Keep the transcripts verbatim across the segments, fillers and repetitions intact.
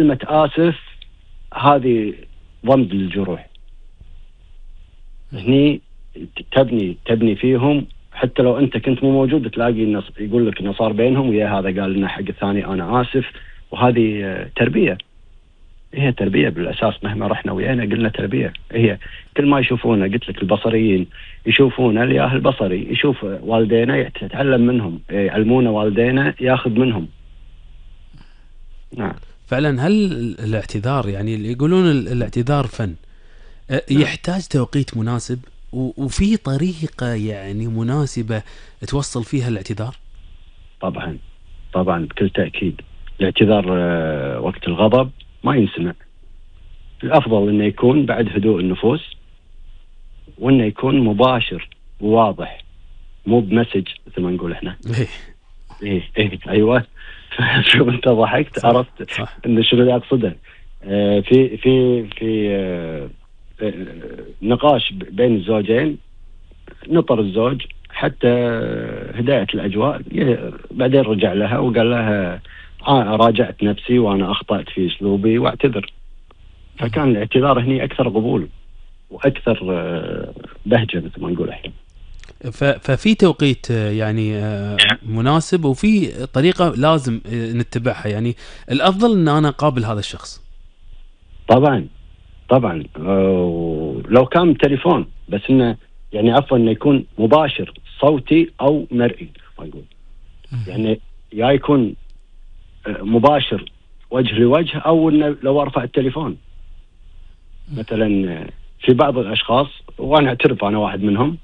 كلمة آسف هذه ضمد للجروح. هني تبني تبني فيهم، حتى لو أنت كنت مو موجود تلاقي النص يقول لك إنه صار بينهم ويا هذا قال لنا حق الثاني أنا آسف. وهذه تربية، هي تربية بالأساس. مهما رحنا ويانا قلنا تربية. هي كل ما يشوفونا، قلت لك البصريين يشوفونا، الياه البصري يشوف والدينا يتعلم منهم، يعلمونا والدينا ياخذ منهم. نعم فعلا. هل الاعتذار يعني اللي يقولون الاعتذار فن، يحتاج توقيت مناسب وفي طريقة يعني مناسبة توصل فيها الاعتذار؟ طبعا طبعا بكل تأكيد. الاعتذار وقت الغضب ما ينسمع. الأفضل إنه يكون بعد هدوء النفوس، وإنه يكون مباشر وواضح، مو بمسج مثل ما نقول إحنا. إيه إيه أيوة. شو أنت ضحكت؟ صح. عرفت صح. إن شنو اللي أقصده. آه في في في آه نقاش بين الزوجين، نطر الزوج حتى هداية الأجواء، بعدين رجع لها وقال لها آه راجعت نفسي وأنا أخطأت في أسلوبي واعتذر. فكان الاعتذار هني أكثر قبول وأكثر بهجة مثل ما نقول إحنا. ففي توقيت يعني مناسب وفي طريقة لازم نتبعها. يعني الأفضل أن أنا أقابل هذا الشخص. طبعا طبعا لو كان تليفون بس، إنه يعني عفوا إنه يكون مباشر صوتي أو مرئي. أقول يعني يا يكون مباشر وجه لوجه، أو إنه لو أرفع التليفون مثلا. في بعض الأشخاص وأنا أعترف أنا واحد منهم،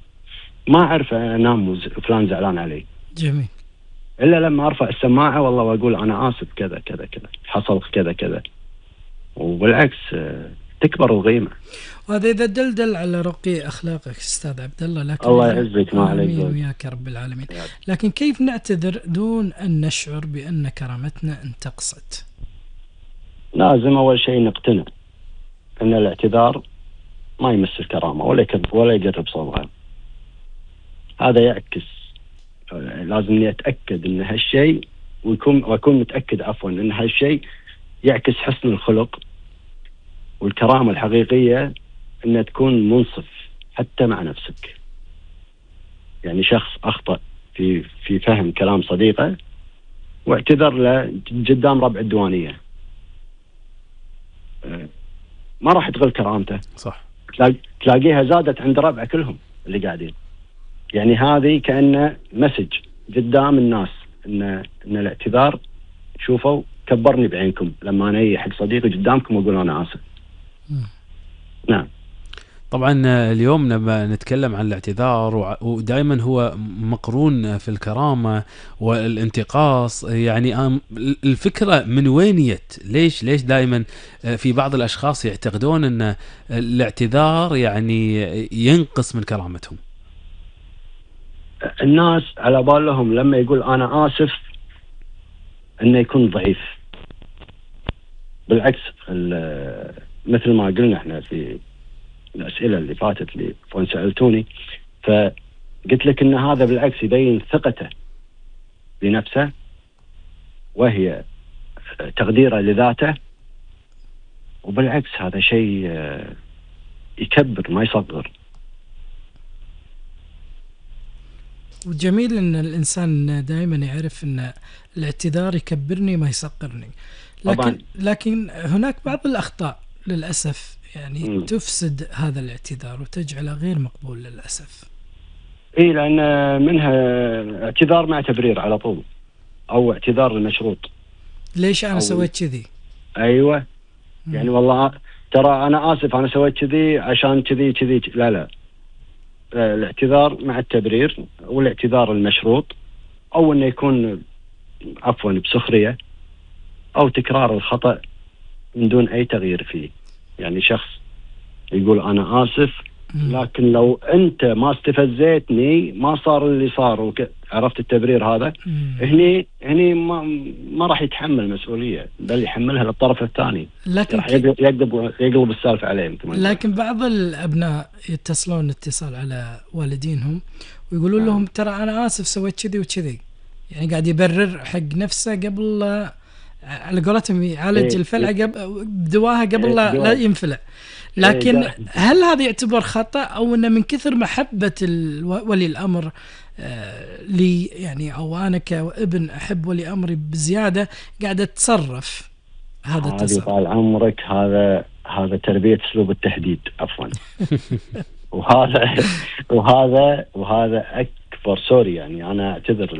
ما أعرف أنام فلان زعلان علي. جميل. إلا لما أرفع السماعة والله وأقول أنا آسف كذا كذا كذا حصل كذا كذا، وبالعكس تكبر الغيمة. وهذا إذا دلدل على رقي أخلاقك أستاذ عبد الله. لكن الله يعزك ما عليك وياك رب العالمين. لكن كيف نعتذر دون أن نشعر بأن كرامتنا انتقصت؟ لازم أول شيء نقتنع أن الاعتذار ما يمس الكرامة ولا يكذب ولا يقرب صوبها. هذا يعكس، لازم أتأكد أن هالشيء ويكون وأكون متأكد عفوا أن هالشيء يعكس حسن الخلق والكرامة الحقيقية، أن تكون منصف حتى مع نفسك. يعني شخص أخطأ في في فهم كلام صديقه واعتذر له قدام ربع الديوانية، ما راح تغل كرامته. صح. تلاقيها زادت عند ربع كلهم اللي قاعدين. يعني هذه كأنه مسج قدام الناس إن إن الاعتذار، شوفوا كبرني بعينكم لما أنا أي حق صديقي قدامكم وأقول أنا آسف. نعم. طبعا اليوم لما نتكلم عن الاعتذار ودائما هو مقرون في الكرامة والانتقاص، يعني الفكرة من وين جت؟ ليش ليش دائما في بعض الأشخاص يعتقدون أن الاعتذار يعني ينقص من كرامتهم؟ الناس على بالهم لما يقول أنا آسف أنه يكون ضعيف. بالعكس، مثل ما قلنا احنا في الأسئلة اللي فاتت اللي فون سألتوني، فقلت لك أن هذا بالعكس يبين ثقته بنفسه، وهي تقديره لذاته. وبالعكس هذا شيء يكبر ما يصغر. وجميل أن الإنسان دائما يعرف أن الاعتذار يكبرني ما يصغرني. لكن طبعاً. لكن هناك بعض الأخطاء للأسف يعني م. تفسد هذا الاعتذار وتجعله غير مقبول للأسف. إيه، لأن منها اعتذار مع تبرير على طول، أو اعتذار المشروط. ليش أنا سويت كذي؟ أيوة. م. يعني والله ترى أنا آسف أنا سويت كذي عشان كذي كذي. لا لا، الاعتذار مع التبرير والاعتذار المشروط، أو أنه يكون عفوا بسخرية أو تكرار الخطأ من دون أي تغيير فيه. يعني شخص يقول أنا آسف، لكن لو أنت ما استفزيتني ما صار اللي صار وك... عرفت التبرير هذا. هني هني ما ما راح يتحمل مسؤولية، بل يحملها للطرف الثاني. لكن راح يقلب يقلب السالفة عليهم. لكن بعض الأبناء يتصلون اتصال على والدينهم ويقولون آه. لهم ترى أنا آسف سويت كذي وكذي، يعني قاعد يبرر حق نفسه قبل على قولتهم يعالج إيه الفلعة قبل بدواها قبل إيه لا, لا دواء. ينفلع. لكن إيه هل هذا يعتبر خطأ أو أنه من كثر محبة ولي الأمر آه لي يعني، أو أنا كابن أحب ولي أمري بزيادة قاعدة أتصرف هذا هذه التصرف؟ طال عمرك هذا هذا تربية أسلوب التهديد عفوا. وهذا وهذا وهذا أكبر سوري يعني، أنا أعتذر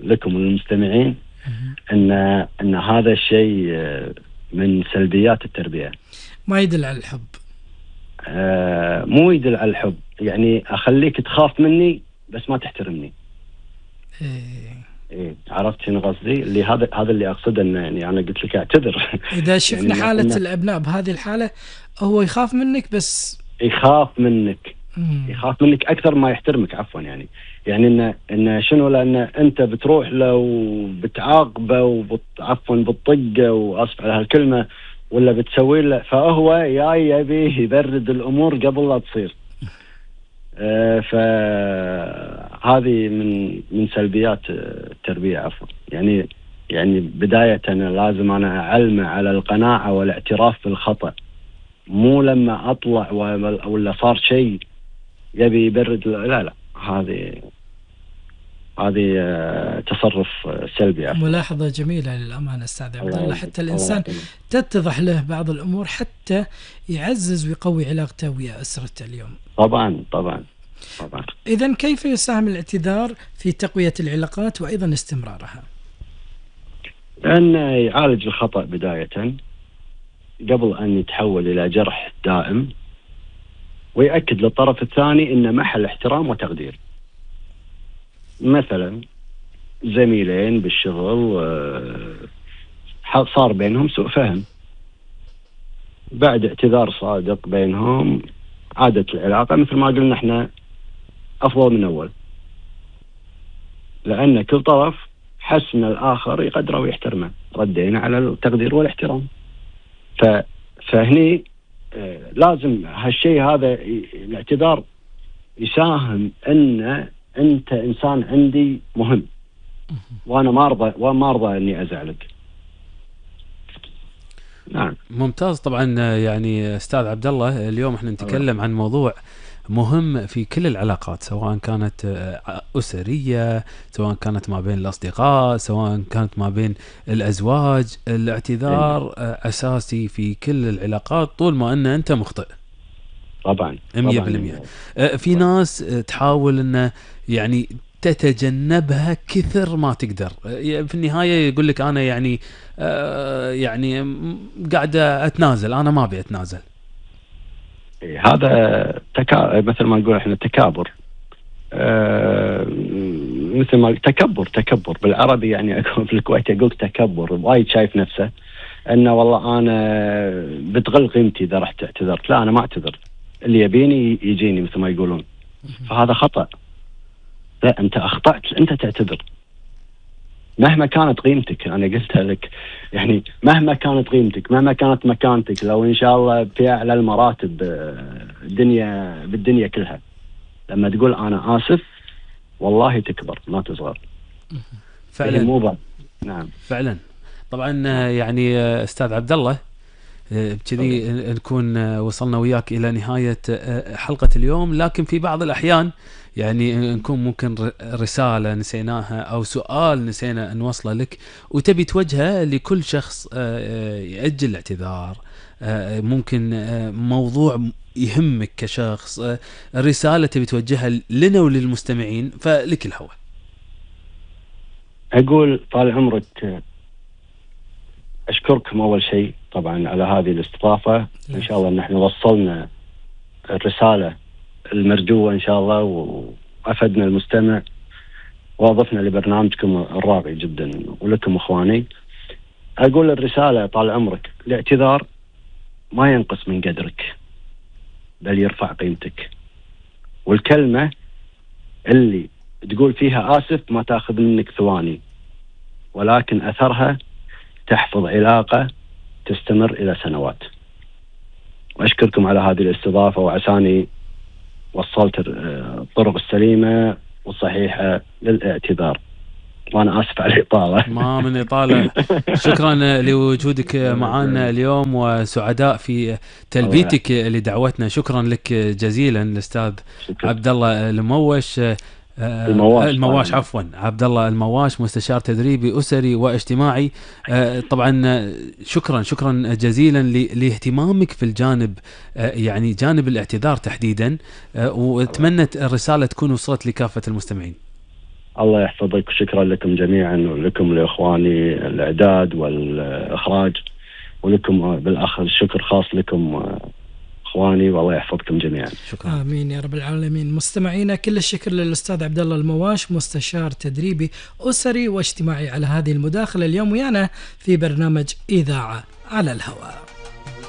لكم المستمعين أن أن هذا الشيء من سلبيات التربية. ما يدل على الحب. آه مو يدل على الحب، يعني أخليك تخاف مني بس ما تحترمني. إيه. إيه عرفت شنو قصدي؟ اللي هذا هذا اللي أقصده، إن يعني أنا قلت لك أعتذر. إذا شفنا يعني حالة إن الأبناء بهذه الحالة، هو يخاف منك بس يخاف منك مم. يخاف منك أكثر ما يحترمك عفوا يعني. يعني إن إن شنو، لأن أنت بتروح له وبتعاقبه وبت عفوا بتطقه، وأسف على هالكلمة، ولا بتسوي له، فهو يا يبي يبرد الأمور قبل لا تصير. آه فهذه من من سلبيات التربية عفوا يعني. يعني بداية أنا لازم أنا أعلمه على القناعة والاعتراف بالخطأ، مو لما أطلع ولا صار شيء يبي يبرد. لا لا هذه هذه تصرف سلبي عفوا. ملاحظة جميلة للأمانة أستاذ عبد الله. حتى الإنسان تتضح له بعض الأمور حتى يعزز ويقوي علاقته ويا أسرته اليوم. طبعا طبعا طبعا. إذن كيف يساهم الاعتذار في تقوية العلاقات وأيضا استمرارها؟ أن يعالج الخطأ بداية قبل أن يتحول إلى جرح دائم، ويأكد للطرف الثاني إن محل احترام وتقدير. مثلا زميلين بالشغل صار بينهم سوء فهم، بعد اعتذار صادق بينهم عادت العلاقة مثل ما قلنا احنا أفضل من أول، لأن كل طرف حس ان الآخر يقدره ويحترمه، ردينا على التقدير والاحترام. ف... فهني لازم هالشيء هذا الاعتذار يساهم ان انت انسان عندي مهم، وانا ما ارضى وما ارضى اني ازعلك. نعم ممتاز. طبعا يعني استاذ عبد الله اليوم احنا نتكلم عن موضوع مهم في كل العلاقات، سواء كانت أسرية، سواء كانت ما بين الأصدقاء، سواء كانت ما بين الأزواج. الاعتذار أساسي في كل العلاقات طول ما أن أنت مخطئ. طبعا مية بالمية. في ناس تحاول أن يعني تتجنبها كثر ما تقدر، في النهاية يقول لك أنا يعني يعني قاعدة أتنازل، أنا ما أبي أتنازل. هذا تكا... مثل ما نقول احنا تكابر. آه... مثل ما تكبر تكبر بالعربي يعني. في الكويت يقول تكبر، وايد شايف نفسه انه والله انا بتغل قيمتي اذا رحت اعتذرت. لا، انا ما اعتذر، اللي يبيني يجيني مثل ما يقولون. فهذا خطأ. لا، انت اخطأت، انت تعتذر مهما كانت قيمتك. أنا قلتها لك يعني، مهما كانت قيمتك، مهما كانت مكانتك، لو إن شاء الله في أعلى المراتب الدنيا بالدنيا كلها، لما تقول أنا آسف والله تكبر ما تصغر. فعلا مو نعم فعلا. طبعا يعني أستاذ عبد الله بكذي نكون وصلنا وياك إلى نهاية حلقة اليوم، لكن في بعض الأحيان يعني نكون ممكن رسالة نسيناها أو سؤال نسينا نوصله لك وتبي توجهه لكل شخص يأجل الاعتذار، ممكن موضوع يهمك كشخص، رسالة تبي توجهها لنا وللمستمعين، فلك الهوى. أقول طال عمرك أشكركم أول شيء طبعا على هذه الاستضافة. إن شاء الله أن احنا وصلنا الرسالة المرجوة إن شاء الله، وأفدنا المستمع وأضفنا لبرنامجكم الراقي جدا ولكم أخواني. أقول الرسالة طال عمرك، الاعتذار ما ينقص من قدرك بل يرفع قيمتك، والكلمة اللي تقول فيها آسف ما تأخذ منك ثواني، ولكن أثرها تحفظ علاقة تستمر إلى سنوات. وأشكركم على هذه الاستضافة، وعساني وصلت الطرق السليمة والصحيحة للاعتذار. وأنا آسف على الإطالة. ما من إطالة. شكرا لوجودك معنا اليوم، وسعداء في تلبيتك لدعوتنا. شكرا لك جزيلا الأستاذ عبد الله الموش المواش, المواش عفوا عبد الله المواش، مستشار تدريبي أسري واجتماعي. طبعا شكرا شكرا جزيلا لاهتمامك في الجانب، يعني جانب الاعتذار تحديدا، واتمنى الرسالة تكون وصلت لكافة المستمعين. الله يحفظك، وشكرا لكم جميعا، ولكم لإخواني الإعداد والإخراج، ولكم بالأخر شكر خاص لكم إخواني، والله يحفظكم جميعا. شكرا. آمين يا رب العالمين. مستمعينا كل الشكر للأستاذ عبد الله المواش، مستشار تدريبي أسري واجتماعي، على هذه المداخلة اليوم ويانا في برنامج إذاعة على الهواء.